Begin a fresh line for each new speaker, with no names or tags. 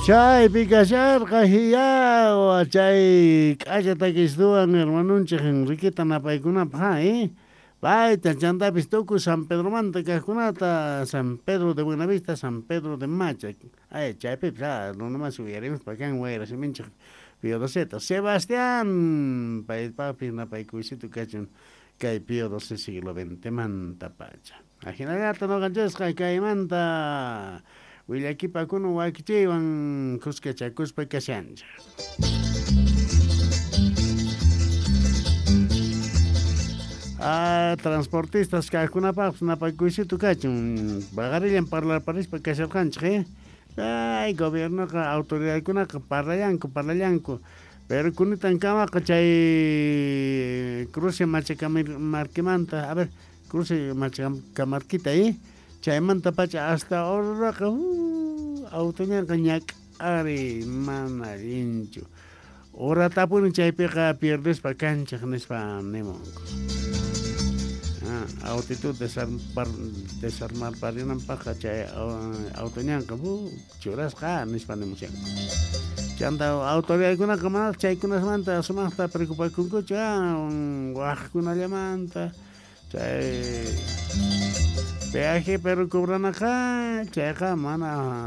Chaypi kasharqa hiyawa chay k'acha takistuwan hermanunchik Enriqueta napaykunapaq ha payta chantapis tukuy San Pedromanta kaqkunata, San Pedro de Buenavista, San Pedro de Macha, ay chaypipis ha runamasi uyarimuspa kan wayra siminchik Pío Doceta. Sebastián paypaqpis napaykuysito kachun kay Pío XII siglo XX mantapacha. Ajinallata noqanchisqa kaymanta willakipakuna wakichiywan kuskachakuspa kashanchik. Ah, transportistas kaqkunapaqpis napakuysitu kachun. Paqarillan parlarparispa kasharqanchik, eh? Ay, gobiernoqa autoridadkunaqa parlallanku, parlallanku. Pero kunitankamaqa chay cruce Machacamarquimanta, a ver, cruce Machacamarquita, eh? Chaymantapacha hasta Oruraqa, autoñanqa ñak'ari mana allinchu. Horatapuni chaypiqa pierdespa kanchik nispa nimunku. Ah, autitud desarmarparinanpaqqa chay autoñanqa churasqa nispa nimushanku. Chanta autoridadkunaqa mana chaykunasmanta sumaqta preocupakunkuchu, wajkunallamanta chay peaje pero cobranaqa chayqa mana.